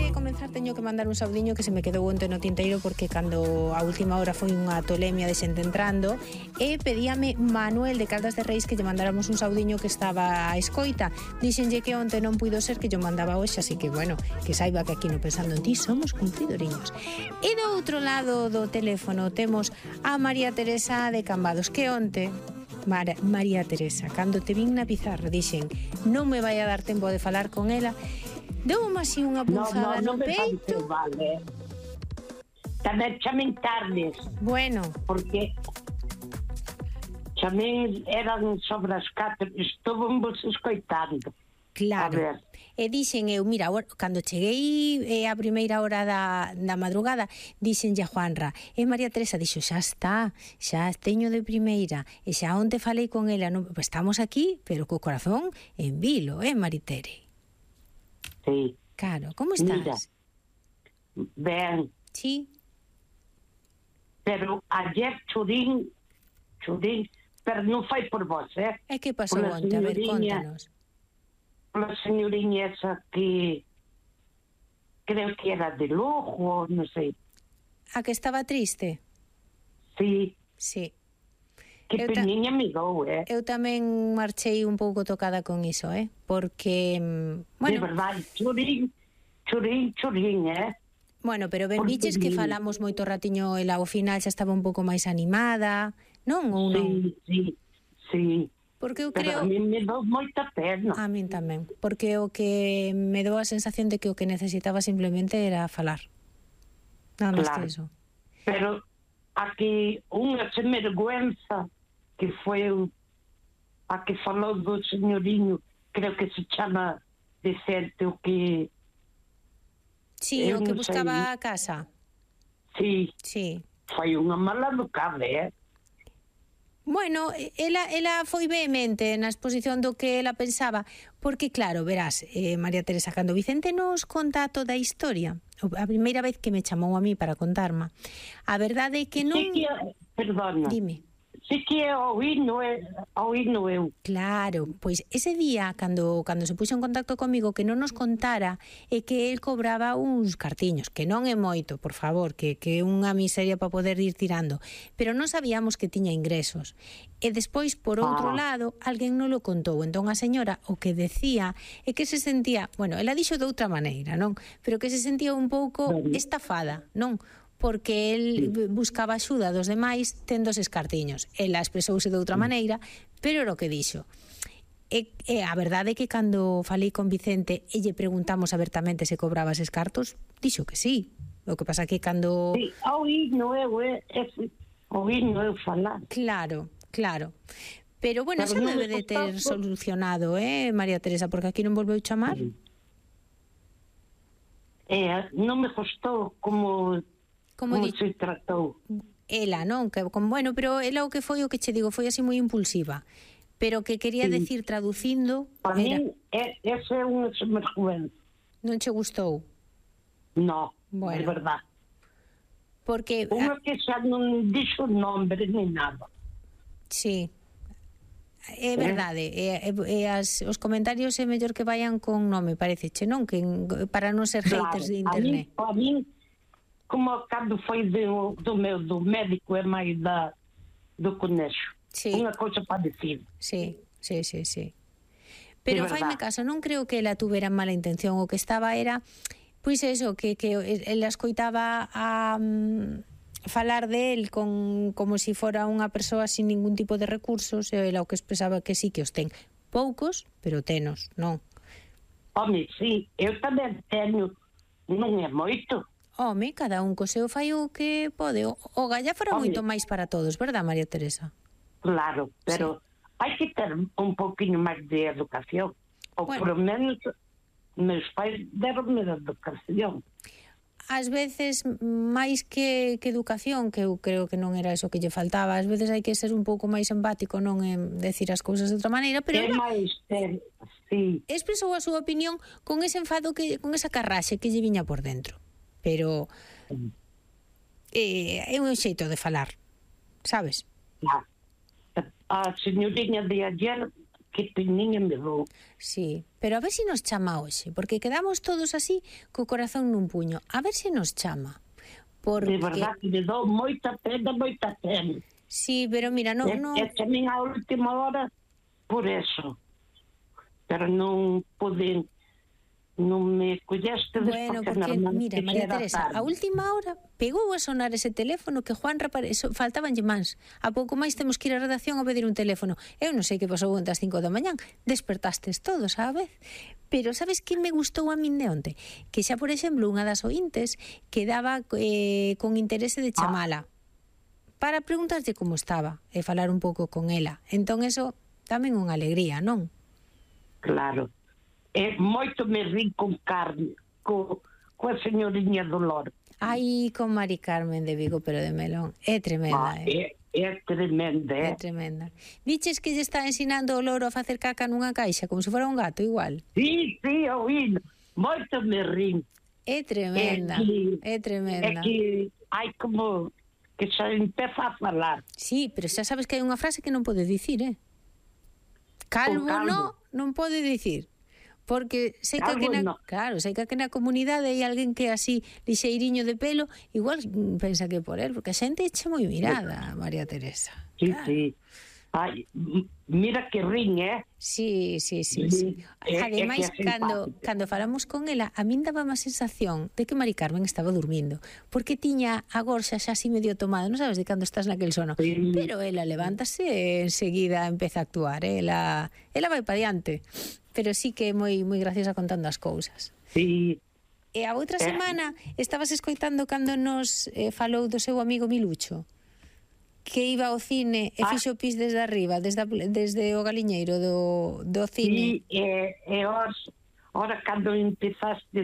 de comenzar teño que mandar un saudiño que se me quedou onte no tinteiro porque cando a última hora foi unha tolemia de xente entrando e pedíame Manuel de Caldas de Reis que lle mandáramos un saudiño que estaba a escoita. Díxenlle que onte non puido ser, que yo mandaba hoxe, así que bueno, que saiba que aquí no Pensando en Ti somos cumplidoriños. E do outro lado do teléfono temos a María Teresa de Cambados, que onte María Teresa, cando te vin na pizarra dixen non me vai a dar tempo de falar con ela. Deu-me así unha punzada no peito. Vale. Tamén chamen tardes. Bueno. Porque chamen eran sobre as 4. Estuvo vos escoitando. Claro. E dixen eu, mira, cando cheguei a primeira hora da madrugada, dixenlle a Juanra, e María Teresa dixo, xa está, xa teño de primeira, e xa onte falei con ela, non, estamos aquí, pero co corazón en vilo, Maritere? Sí. Claro, como estás? Mira, ben. Sí. Pero ayer churín, pero non foi por vos, E que pasou onte? A ver, contanos. Pola señoriña esa que creo que era de Lugo, non sei. A que estaba triste? Sí. Sí. Que peniña me dou, Eu tamén marchei un pouco tocada con iso, porque, bueno... De verdade, churín, Bueno, pero ben biches que falamos moito ratiño, ela ao final xa estaba un pouco máis animada, non? Ou non? Sí. Porque eu creo... Pero a mí me dou moita pena. A min tamén, porque o que me dou a sensación de que o que necesitaba simplemente era falar. Nada máis que iso. Pero aquí unha semergüenza que foi a que falou do señoriño, creo que se chama Vicente, o que... Sí, o que buscaba a casa. Sí. Foi unha mala educada, Bueno, ela foi vehemente na exposición do que ela pensaba, porque claro, verás, María Teresa, cando Vicente nos conta toda a historia, a primeira vez que me chamou a mí para contarma, a verdade é que non... Perdona. Dime. Sí que oíno eu. Claro, pois ese día, cando se puxo en contacto comigo, que non nos contara é que el cobraba uns cartiños, que non é moito, por favor, que é unha miseria para poder ir tirando, pero non sabíamos que tiña ingresos. E despois, por outro lado, alguén non lo contou, entón a señora o que decía é que se sentía, bueno, ela dixo de outra maneira, non? Pero que se sentía un pouco estafada, non? Porque el buscaba axuda dos demais tendo eses cartiños. Ela expresouse de outra maneira, pero era o que dixo. E a verdade é que cando falei con Vicente e lle preguntamos abertamente se cobraba eses cartos, dixo que sí. O que pasa que cando... Sí, oíno eu falar. Claro. Pero bueno, xa debe de ter solucionado, María Teresa, porque aquí non volveu chamar. Non me costou como se tratou. Ela, non? Bueno, pero ela o que foi, o que che digo, foi así moi impulsiva. Pero que quería decir traducindo... Para mí, ese é unha semergüenza. Non che gustou? No, bueno, é verdade. Porque... Unha que xa non dixo nombre ni nada. Sí. É verdade, os comentarios é mellor que vayan con nome, pareceche, non? Que para non ser haters de internet. A min, como cando foi do médico é máis do conexo. Unha cousa para decir. Sí. Pero faime caso, non creo que ela tuvera mala intención, o que estaba era, pois eso, que ela escoitaba a falar de él como si fora unha persoa sin ningún tipo de recursos, e ela o que expresaba que sí que os ten. Poucos, pero tenos, non? Home, sí, eu tamén teño, non é moito. Home, cada un co seu fai o que pode. O galla fora moito máis para todos, verdad, María Teresa? Claro, pero hai que ter un pouquinho máis de educación. Ou por menos meus pais deronme de educación. Ás veces, máis que educación, que eu creo que non era eso que lle faltaba, ás veces hai que ser un pouco máis empático, non en decir as cousas de outra maneira, pero é máis sí. Expresou a súa opinión con ese enfado, con esa carraxe que lle viña por dentro. Pero é un xeito de falar, sabes? A señoriña de ayer que teñen me dou. Sí, pero a ver se nos chama hoxe, porque quedamos todos así co corazón nun puño. A ver se nos chama. Porque... De verdad que me dou moita pena. Sí, pero mira, non... É tamén a última hora por eso. Pero non poden... Non me colleste Bueno, porque, mira, María Teresa, a última hora pegou a sonar ese teléfono que Juan faltabanlle mans. A pouco máis temos que ir á redacción a pedir un teléfono. Eu non sei que pasou onte ás 5 da mañán. Despertastes todos á vez. Pero sabes que me gustou a min de onte? Que xa, por exemplo, unha das ointes quedaba con interese de chamala para preguntarlle como estaba e falar un pouco con ela. Entón, eso tamén unha alegría, non? Claro. Moito me rin con Carmen, coa señoriña Dolor. Ai, con Mari Carmen de Vigo, pero de melón. É tremenda, É tremenda, É tremenda. Viches que lle está ensinando o loro a facer caca nunha caixa, como se fora un gato, igual? Sí, oíno. Moito me rin. É tremenda, é tremenda. É que hai como que xa empeza a falar. Sí, pero xa sabes que hai unha frase que non pode dicir, Calvo non pode dicir. Porque sei que aquí na comunidade hai alguén que é así lixeiriño de pelo, igual pensa que por él, porque a xente eche moi mirada, María Teresa. Sí, claro. Sí. Ai, mira que rin, Sí. Ademais, cando falamos con ela, a min daba má sensación de que Mari Carmen estaba dormindo, porque tiña a gorxa xa así medio tomada, non sabes de cando estás naquel sono, sí. Pero ela levántase e enseguida empeza a actuar, ela vai pa diante. Pero sí que é moi graciosa contando as cousas. Sí. E a outra semana estabas escoitando cando nos falou do seu amigo Milucho, que iba ao cine e fixo pis desde arriba, desde o galiñeiro do cine. Sí, e ora cando empezaste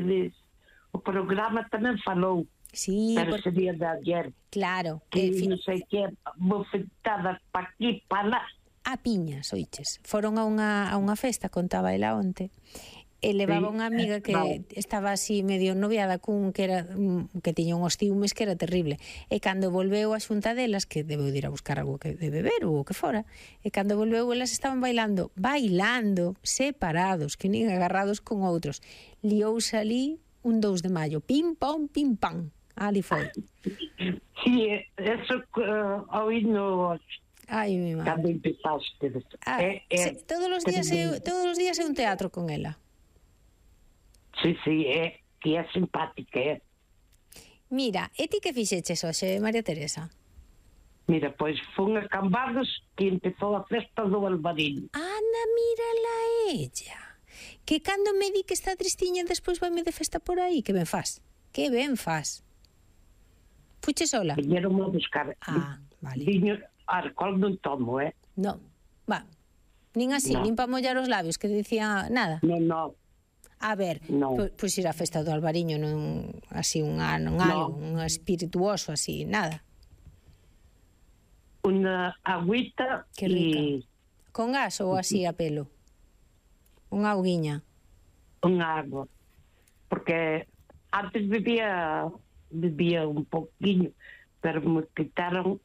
o programa tamén falou. Sí, pero sería de ayer. Claro. Que non sei que bofetadas pa aquí, pa lá. A piñas, oiches. Foron a unha festa, contaba ela onte, e levaba unha amiga que estaba así medio noviada cun que tiña unhos ciúmes que era terrible. E cando volveu a xunta delas, que debeu de ir a buscar algo de beber ou o que fora, e cando volveu elas estaban bailando separados, que nin agarrados con outros. Liouse ali un 2 de maio, pim pam, ali foi. Sí, eso oíno. Ai, mi madre. Cando empezaste. Todos os días é un teatro con ela. Sí, que é simpática, Mira, e ti que fixeches hoxe, María Teresa? Mira, pois fun a Cambados que empezou a festa do Albariño. Anda, mírala ella. Que cando me di que está tristiña despois vaime de festa por aí, que ben faz? Fuche sola? Viñeron a buscar. Vale. Viño, alcohol non tomo, Non, nin así, nin para mollar os labios, que dicía nada. Non. A ver, pois ir á festa do Albariño non así un espirituoso así, nada. Unha agüita. Que rica. Con gas ou así a pelo? Unha auguiña. Unha agua. Porque antes bebía un poquinho, pero me quitaron.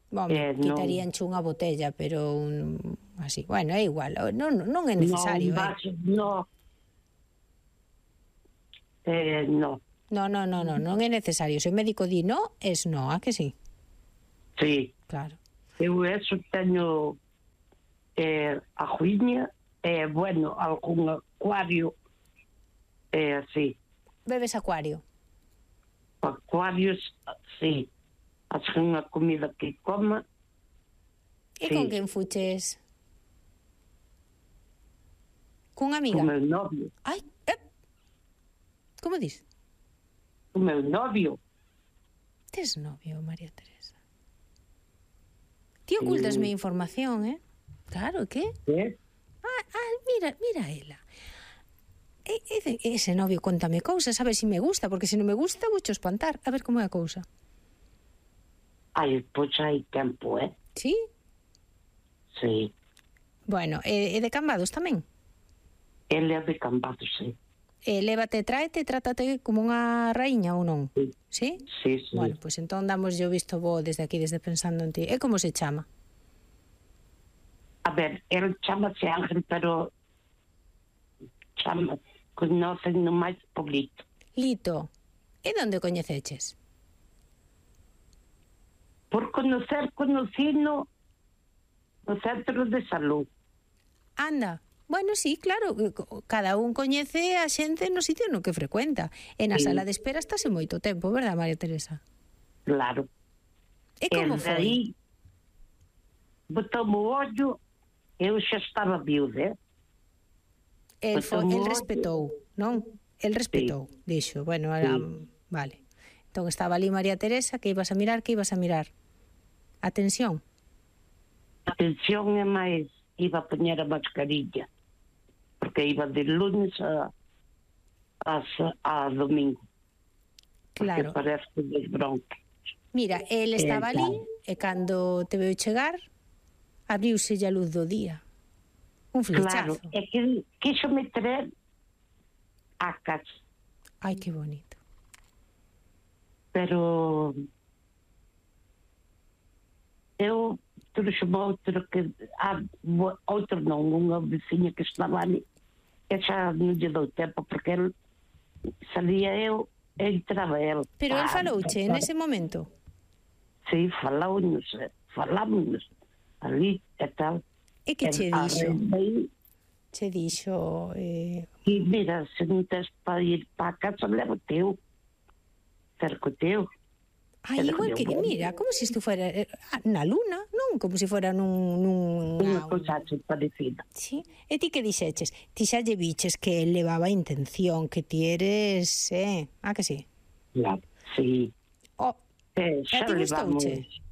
Quitaríanche unha botella, pero así, bueno, é igual, non é necesario. Non é necesario. Se o médico di no, es no, a que sí? Sí. Claro. Eu eso teño a juiña, bueno, algún acuario, así. Bebes acuario? Acuarios, sí. Hace unha comida que coma. E con quen fuches? Cunha amiga? Con meu novio. Ai, como dis? Con meu novio. Tes novio, María Teresa? Ti ocultasme información, Claro, que? Mira ela. Ese novio contame cousas, a ver se me gusta, porque se non me gusta voucho espantar. A ver como é a cousa. Pois hai tempo, Sí? Sí. Bueno, e de Cambados tamén? Ele é de Cambados, sí. Tráete, trátate como unha raíña ou non? Sí. Sí? Bueno, pois entón damos yo visto bo desde aquí, desde pensando en ti. E como se chama? A ver, ele chama-se Ángel, pero conocen máis por Lito. Lito, e onde o coñeceches? Por conocino no centro de salud. Anda, bueno, sí, claro, cada un coñece a xente no sitio no que frecuenta. E na Sí. sala de espera estase moito tempo, verdad, María Teresa? Claro. E como foi? Aí botou-me o ollo, eu xa estaba viuda, El botou-me o ollo. respetou, non? El respetou, dixo, bueno, era, vale. Entón estaba ali María Teresa, que ibas a mirar? Atención. Atención é máis, iba a poñer a mascarilla, porque iba de lunes a domingo. Claro. Porque parece que desbronque. Mira, el estaba ali e cando te veu chegar, abriuse a luz do día. Un flechazo. Claro, é que quixo me traer a casa. Ai, que bonito. Pero eu trouxe-me outro non, unha veciña que estaba ali, que xa non lle dou tempo, porque ele salía eu e entraba ele. Pero el falouche nese momento? Sí, falámonos ali e tal. E que che dixo? Aí, Che dixo... e mira, se non tens para ir para a casa, levo teu. Cerco teu. Ai, igual que, mira, como se isto fuera na luna, non? Como se fuera Unha cousa así parecida. Sí. E ti que dixeches? Ti xa lle biches que el levaba intención, que ti eres, ah, que sí? Claro, sí. Oh, Xa a ti levamos... gustouche?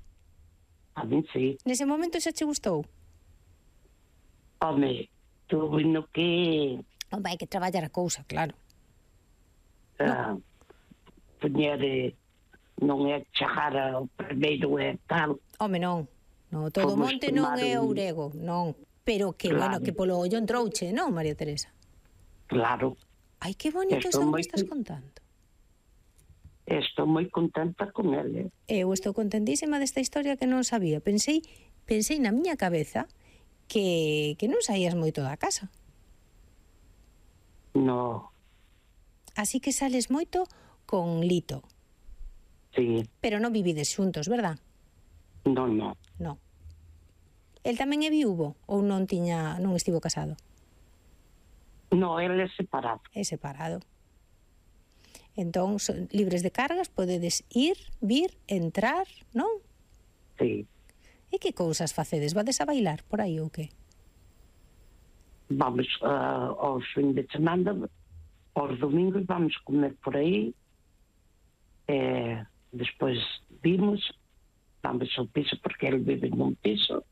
A mí sí. Nese momento xa che gustou? Home, tuve no que... Hombre, hai que traballar a cousa, claro. Poñer... non é chegar ao primeiro e tal. Home, non. No, todo Fomos monte non é tomar ourego, non. Pero que, Claro. bueno, que polo ollo entrouche, non, María Teresa? Claro. Ai, que bonito Estou isto que moi estás contando. Estou moi contenta con ele. Eu estou contentísima desta historia que non sabía. Pensei na miña cabeza que non saías moito da casa. No, Así que sales moito con Lito. sí, Pero non vivides xuntos, verdad? non. Non. El tamén é viúvo ou non estivo casado? No, ele é separado. É separado. Entón, son libres de cargas, podedes ir, vir, entrar, non? Sí. E que cousas facedes? Vades a bailar por aí ou que? Vamos aos fins de semana, aos domingos vamos comer por aí. Despois vimos, vamos ao piso porque ele vive num piso,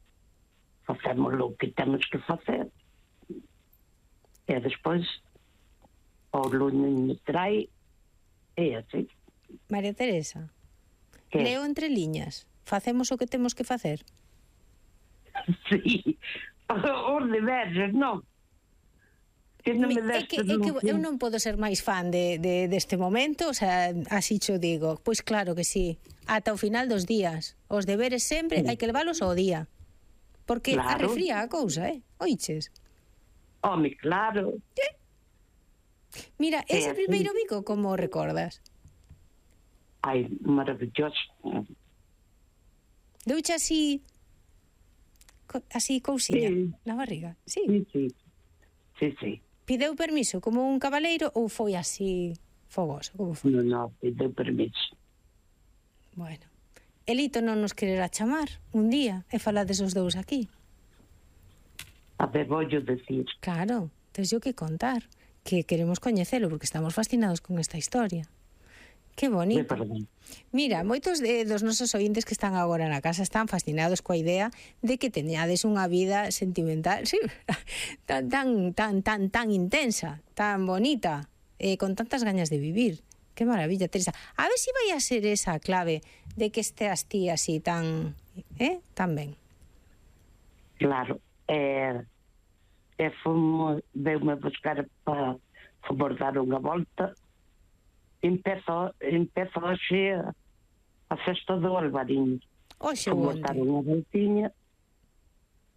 facemos o que temos que facer e despois ao lunes me trai e así. María Teresa, Que? leo entre liñas. Facemos o que temos que facer? Sí, os deberes, non? Que non me É que eu non podo ser máis fan deste momento, o sea, así cho digo. Pois claro que sí, ata o final dos días. Os deberes sempre hai que leválos ao día. Porque Claro. arrefría a cousa, oiches? Home, claro. Mira, ese así. primeiro bico, como o recordas? Ai, maravilloso. Douche así cousiña Sí. na barriga? Sí. Sí. Pideu permiso como un cabaleiro ou foi así fogoso? Como foi? Non, pideu permiso. Bueno. Elito non nos quererá chamar un día e falades os dous aquí. A ver, voglio decir. Claro, tens yo que contar, que queremos coñecelo porque estamos fascinados con esta historia. Que bonito. Mira, moitos dos nosos ointes que están agora na casa están fascinados coa idea de que teñades unha vida sentimental, sí, tan intensa, tan bonita, con tantas gañas de vivir. Que maravilla, Teresa. A ver se vai a ser esa a clave de que esteas ti así tan ben. Claro. Veu-me buscar para fomos dar unha volta. Empezou hoxe a festa do Alvariño. Oxe, Fomos dar unha voltiña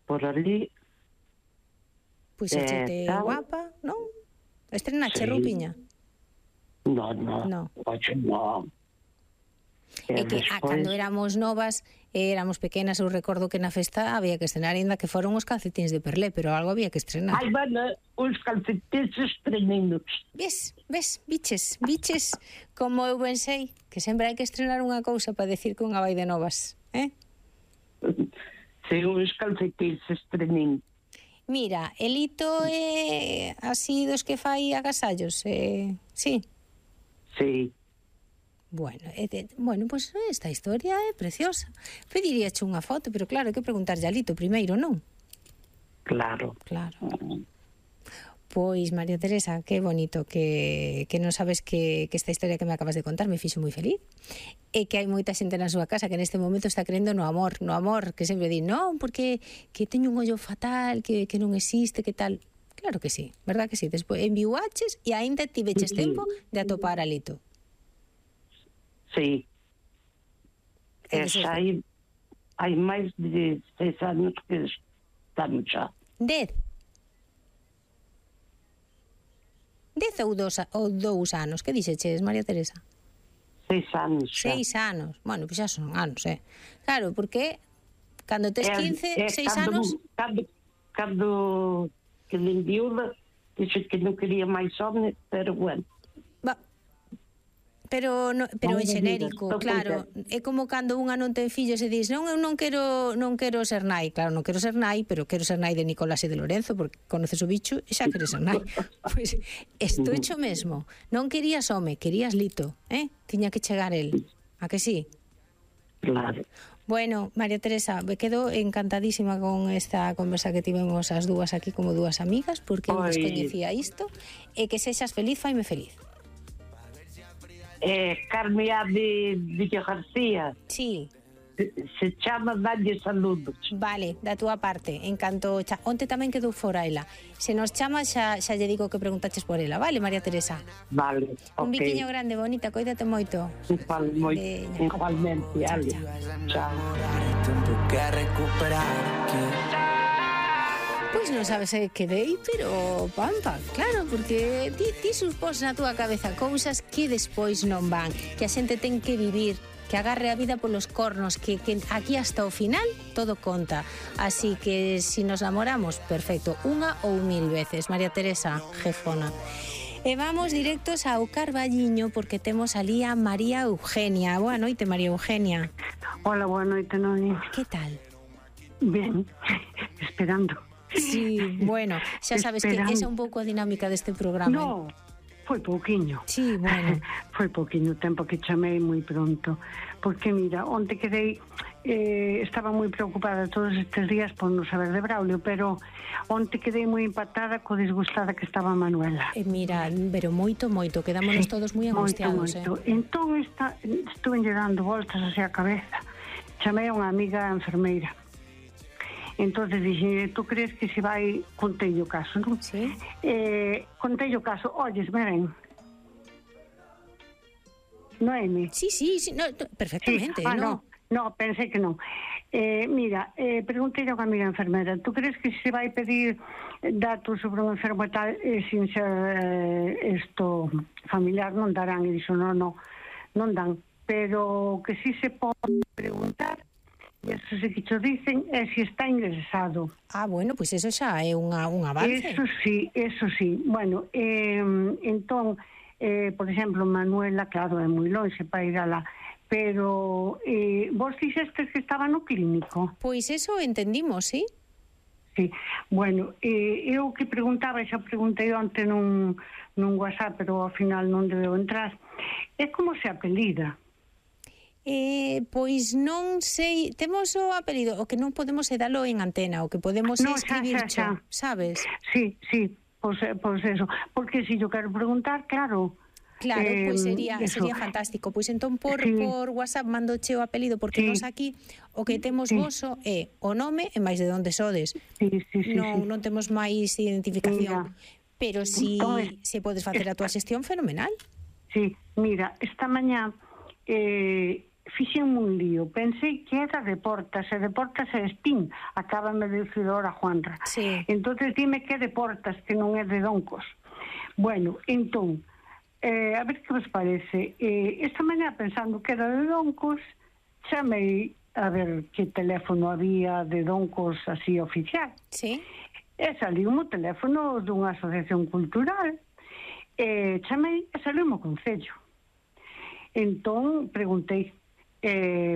por ali Pois échete guapa, non? Estrenache roupiña? No. Oxe, no. É que cando éramos novas, éramos pequenas, eu recordo que na festa había que estrenar, ainda que foron os calcetins de perlé, pero algo había que estrenar. Ai, bueno, os calcetins estrenados. Biches, como eu ben sei, que sempre hai que estrenar unha cousa para decir que unha vai de novas, Sí, os calcetins estrenados. Mira, Elito é así dos que fai agasallos, sí? Sí. Bueno, pues esta historia é preciosa. Pediríache unha foto, pero claro, hai que preguntarlle a Lito primeiro, non? Claro. Pois, María Teresa, que bonito que non sabes que esta historia que me acabas de contar me fixo moi feliz. E que hai moita xente na súa casa que neste momento está crendo no amor, que sempre di, non, porque que teño un ollo fatal, que non existe, que tal. Claro que sí, verdad que sí. Despois enviuaches e aínda tiveches tempo de atopar a Lito. Sí. Hai máis de 6 anos que estamos xa. 10 ou 2 anos? Que dixeches, María Teresa? 6 anos xa. 6 anos. Bueno, pois xa son anos, Claro, porque cando tes 15, 6 anos... Cando que me enviuda, dixo que non quería máis home, pero bueno. Pero en xenérico, claro, é como cando unha non ten fillos e dis, non, eu non quero ser nai. Claro, non quero ser nai, pero quero ser nai de Nicolás e de Lorenzo, porque conoces o bicho e xa queres ser nai. Pois isto é xo mesmo. Non querías home, querías Lito, tiña que chegar el. A que sí? Claro. Bueno, María Teresa, me quedo encantadísima con esta conversa que tivemos as dúas aquí como dúas amigas, porque eu descoñecía isto, e que sexas feliz, faime feliz. Carmea de Villa García. Sí. Se chama Dalle Saludos. Vale, da túa parte, en canto onte tamén quedou fora ela. Se nos chama xa lle digo que preguntaches por ela, vale, María Teresa? Vale, ok. Un biquiño grande, bonita, coídate moito. Igualmente, Ale. Chao. Pois non sabes que dei, pero pampa, claro, porque ti supós na túa cabeza cousas que despois non van, que a xente ten que vivir, que agarre a vida polos cornos, que aquí hasta o final todo conta. Así que si nos namoramos, perfecto, unha ou 1000 veces, María Teresa, jefona. E vamos directos ao Carballiño porque temos ali a María Eugenia. Boa noite, María Eugenia. Hola, boa noite, Noni. Que tal? Ben, esperando. Sí, bueno, xa sabes que esa é un pouco a dinámica deste programa. No, foi pouquiño. Sí, bueno. Foi pouquiño tempo que chamei moi pronto. Porque, mira, onte quedei... estaba moi preocupada todos estes días por non saber de Braulio, pero onte quedei moi empatada co disgustada que estaba Manuela. Mira, pero moito, quedámonos todos moi angustiados. Moito. Entón, estuve dando voltas hacia a cabeza. Chamei a unha amiga enfermeira. Entonces dixen, tú crees que se vai, contei o caso, non? Sí. Contei o caso, olles, ven. Noemi? Sí, no, perfectamente, sí. ¿no? No, pensei que non. Mira, preguntei a unha amiga enfermera, tú crees que se vai pedir datos sobre un enfermo e tal, sin ser isto familiar, non darán? E dixo, non dan. Pero que si se pode preguntar, eso sí que cho dicen, é se está ingresado. Ah, bueno, pois eso xa é un avance. Eso sí. Bueno, entón, por exemplo, Manuela, claro, é moi longe para ir alá, pero vos dixestes que estaba no clínico? Pois eso entendimos, sí? Sí, bueno, eu que preguntaba, xa preguntei onte nun WhatsApp, pero ao final non debeu entrar, é como se apelida? Pois non sei, temos o apelido, o que non podemos é dalo en antena, o que podemos é escribir xa, sabes? Sí, pois eso, porque se yo quero preguntar, claro. Claro, pois sería fantástico. Pois entón por WhatsApp mandoche o apelido, porque nos aquí o que temos voso é o nome e máis de onde sodes. Non temos máis identificación. Pero si podes facer a túa xestión, fenomenal. Sí, mira, esta mañá fixenme un lío. Pensei que era de Portas, e de Portas é Espín, acábame de dicir ahora Juanra. Sí. Entonces dime que é de Portas, que non é de Doncos. Bueno, entón, a ver que vos parece. Esta mañá, pensando que era de Doncos, chamei a ver que teléfono había de Doncos así oficial. Sí. E saliu o teléfono dunha asociación cultural. Chamei e saliu o concello. Entón, preguntei,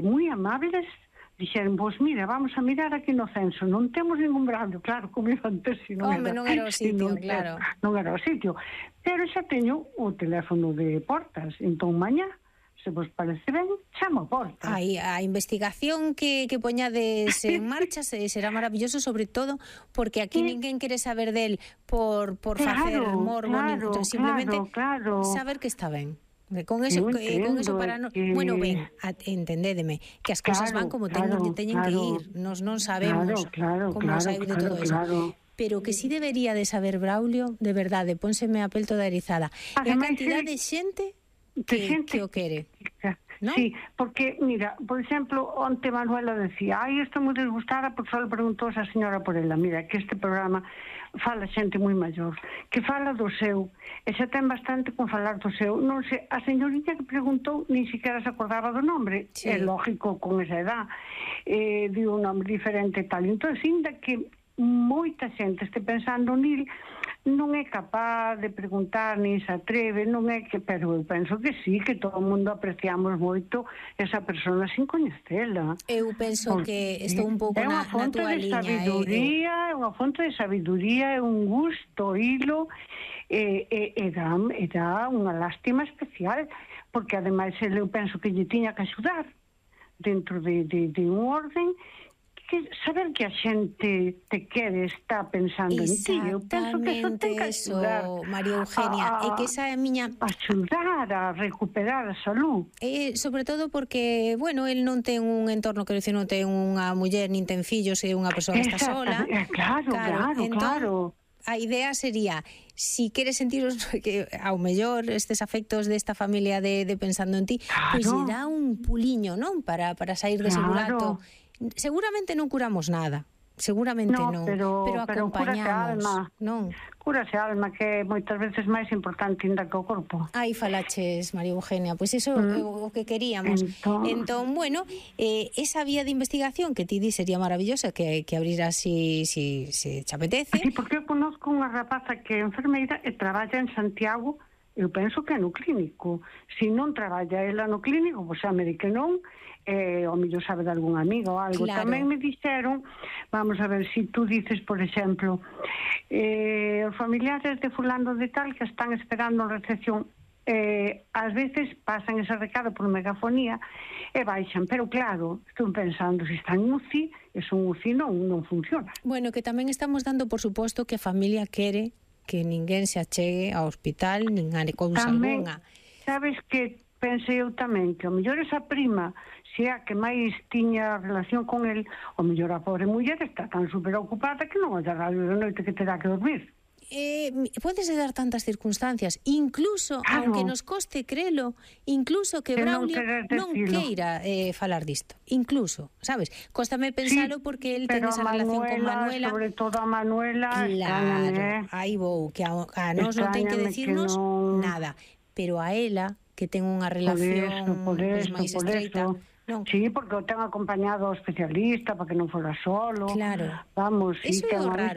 moi amables, dixeron, vos mira, vamos a mirar aquí no censo, non temos ningún Braulio, claro, como iba antes, non era o sitio, claro. Non era o sitio, pero xa teño o teléfono de Portas, entón mañá, se vos parece ben, chamo a Portas. A investigación que poñades en marcha será maravilloso, sobre todo porque aquí ninguén quere saber del por facer morbo, simplemente saber que está ben. Con eso para no... Bueno, ben, entendédeme, que as cousas van como teñen que ir. Nos non sabemos como saiu de todo eso. Pero que sí debería de saber Braulio, de verdade, pónseme a pel toda erizada. E a cantidad de xente que o quere, ¿no? Sí, porque, mira, por exemplo, onte Manuela decía, estou moi desgustada porque só le preguntou a señora por ela. Mira, que este programa fala xente moi maior, que fala do seu, e xa ten bastante con falar do seu. Non sei, a señorita que preguntou nin siquiera se acordaba do nombre, sí. É lógico con esa edad, di un nombre diferente e tal. Entón, ainda que moita xente este pensando nil, non é capaz de preguntar, nin se atreve, non é que, pero eu penso que sí, que todo o mundo apreciamos moito esa persona sin coñecela. Eu penso que estou un pouco na tua liña. É unha fonte de sabiduría, é un gusto oílo, e dá unha lástima especial, porque ademais eu penso que lle tiña que axudar dentro de un orden, que saber que a xente te quere, está pensando en ti. Eu penso que eso ten que axudar, María Eugenia, e que esa é a miña... Axudar a recuperar a salud. Sobre todo porque, bueno, el non ten un entorno, quero dicir, non ten unha muller, nin ten fillos, é unha persoa que está sola. Claro. A idea sería, si queres sentiros que ao mellor estes afectos desta familia de pensando en ti, pois lle dá un puliño, non? Para sair dese burato. Seguramente non curamos nada, seguramente non, pero acompañamos, non? Curase a alma, que moitas veces máis importante ainda que o corpo. Aí falaches, María Eugenia, pois iso é o que queríamos. Entón, bueno, esa vía de investigación que ti di sería maravillosa que abriras si te apetece. Sí, porque eu conozco unha rapaza que é enfermeira e traballa en Santiago. Eu penso que é no clínico. Se non traballa ela no clínico, pois xa me di que non, o mellor sabe de algún amigo ou algo. Claro. Tamén me dixeron, vamos a ver, se tú dices, por exemplo, os familiares de fulano de tal que están esperando en recepción, ás veces pasan ese recado por megafonía e baixan, pero claro, estou pensando, se están en UCI, eso en UCI non funciona. Bueno, que tamén estamos dando por suposto que a familia quere que ninguén se achegue ao hospital, nin a cousa algunha. Sabes que pensei eu tamén que o mellor esa prima, se a que máis tiña relación con el, o mellor a pobre muller está tan super ocupada que non olla radio de noite que terá que dormir. Podes dar tantas circunstancias, incluso, aunque nos coste crelo, incluso que Braulio non queira falar disto, incluso, sabes? Cóstame pensalo porque el ten esa relación con Manuela. Sobre todo a Manuela. Claro, aí vou, que a nós non ten que decirnos nada, pero a ela, que ten unha relación máis estreita. Non. Sí, porque o ten acompañado ao especialista para que non fora solo. Claro. Vamos, eso é o raro.